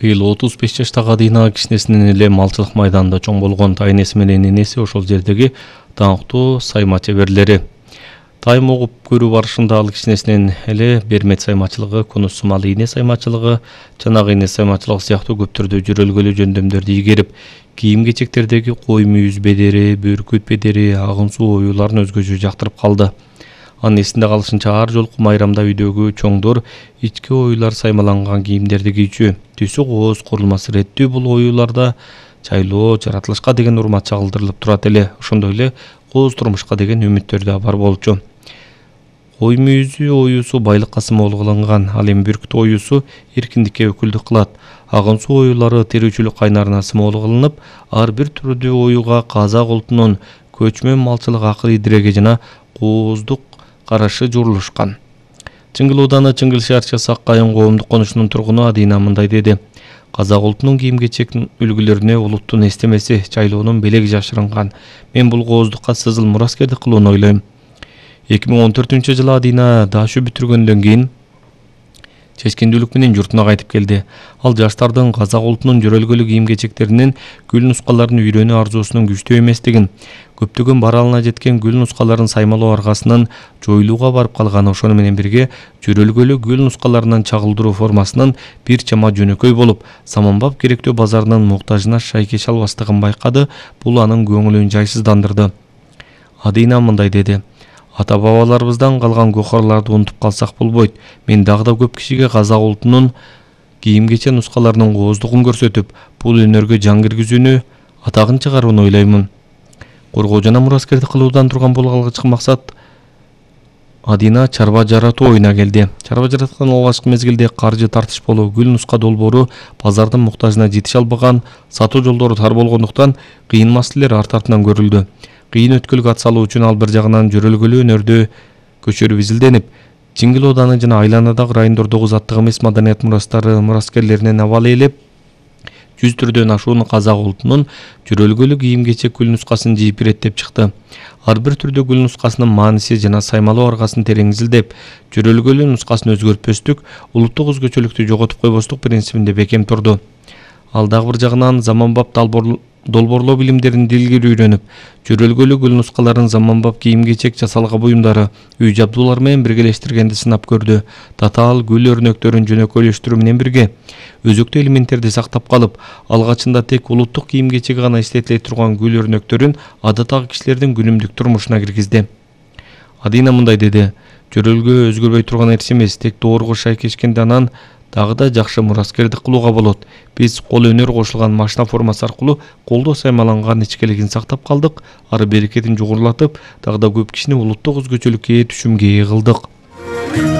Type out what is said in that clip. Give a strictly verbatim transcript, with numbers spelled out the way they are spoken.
Быйыл отуз беш жаштагы Адина кичинесинен эле малчылык майданында чоң болгон тайнеси менен энеси ошол жердеги даңктуу сайма чеберлери. Тайм угуп көрүү барышында ал кичинесинен эле бермет саймачылыгы, конус сумал ийне саймачылыгы, чанак ийне саймачылыгы сыяктуу көптөрдө жөрөлгөлүү жөндөмдөрдү ийгерип, кийим-кечектердеги кой мүйүз бедери, бөркүт бедери, агын суу оюуларын өзгөчө жактырып калды. Анын эсинде калышынча ар жолку майрамда үйдөгү чоңдор ички оюулар саймаланган кийимдерди кийчү. Түсү кооз, курулмасы реттүү бул оюуларда чайлоо, жаратылышка деген урмат чагылдырылып турат эле. Ошондой эле кооз турмушка деген үмүттөр да бар болчу. Кой мүйүзү оюусу байлыкка сымоолуу кылынган, ал эми бүркүт оюусу эркиндикке өкүлдүк кылат. Агын суу оюулары терүүчүлүк кайнарына сымоолуу кылынып, ар бир түрдүү оюуга казак улутунун көчмөн малчылык акыл идиреги жана кооздук карашы журулушкан. Чыңгыл ооданы Чыңгыл шаарчасы Ак Кайын коомдук конушунун тургуну Адина мындай деди. Казак улутунун кийим-кечек үлгүлөрүнө улуттун эстемеси, чайлоонун белеги жашырынган. Мен бул кооздукка сызыл мураскердик кылууну ойлойм. эки миң он төртүнчү жылы Адина дашы бүтүргөндөн кийин чечкиндүүлүк менен журтуна кайтып келди. Ал жаштардын казак улутунун жөрөлгөлүк кийим-кечектеринин гүл нускаларын үйрөнүү арзуусунун күчтүү эместигин, көптөгөн баралына жеткен гүл нускаларын саймалоо аркасынан жоюлууга барып калган, ошону менен бирге жөрөлгөлүк гүл нускаларынан чагылдыруу формасынын бир чама жөнөкөй болуп, заманбап керектөө базарынын муктажына шайкеш албастыгын байкады. Бул анын көңүлүн жайсыздандырды. Адина мындай деди. Ата-бабаларыбыздан калган гохарларды унутуп калсак болбойт. Мен дагы да көп кишиге казак улутунун кийим-кечек нускаларынын кооздугун көрсөтүп, бул өнөргө жан киргизүүнү, атагын чыгарууну ойлоймун. Коргоо жана мураскердик кылуудан турган бул алгачкы максат Адина чарба жаратуу оюна келди. Чарба жараткан алгачкы мезгилде каржы тартыш болуу, гүл нуска долбоору базардын муктажына жетише албаган, сатуу жолдору тар болгондуктан кыйын маселелер арт артынан көрүлдү. Кыйын өткөлгө ат салуу үчүн ал бир жагынан жөрөлгөлүү өнөрдү көчөрүп изилденип, Чыңгыл ооданы жана айланадагы райондордогу заттык эмес маданият мурастары мураскерлеринен абал ээлеп, жүз түрдөн ашуун казак улутунун жөрөлгөлүк кийим-кечек гүл нускасын жийип иреттеп чыкты. Ар бир түрдүү гүл нускасынын мааниси жана саймалоо аргасын терең изилдеп, жөрөлгөлүү нускасын өзгөртпөстүк, улуттук өзгөчөлүктү жоготуп койбостук принцибинде бекем турду. Ал дагы бир жагынан заманбап долбоорлоо билимдерин дилгир үйрөнүп, жөрөлгөлүү гүл нускаларын заманбап кийим-кечек жасалган буюмдары, үй жабдуулар менен биргелештиргенди сынап көрдү. Татаал гүл өрнөктөрүн жөнөкөйлөштүрүү менен бирге өзөктүү элементтерди сактап калып, алгачында тек улуттук кийим-кечеги гана эстетиле турган гүл өрнөктөрүн адаттагы кишилердин күнүмдүк турмушуна киргизди. Адина мындай деди. Жөрөлгө өзгөрбөй турган нерсе эмес, тек доорго шайкешкенде анан дагы да жакшы мураскердик кылууга болот. Биз кол өнөр кошулган машина формасы аркылуу колдо саймаланган ичкилигин сактап калдык, ары берекетин жугурлатып, дагы да көп кишини улуттук өзгөчөлүккө ээ түшүмгө ээ кылдык.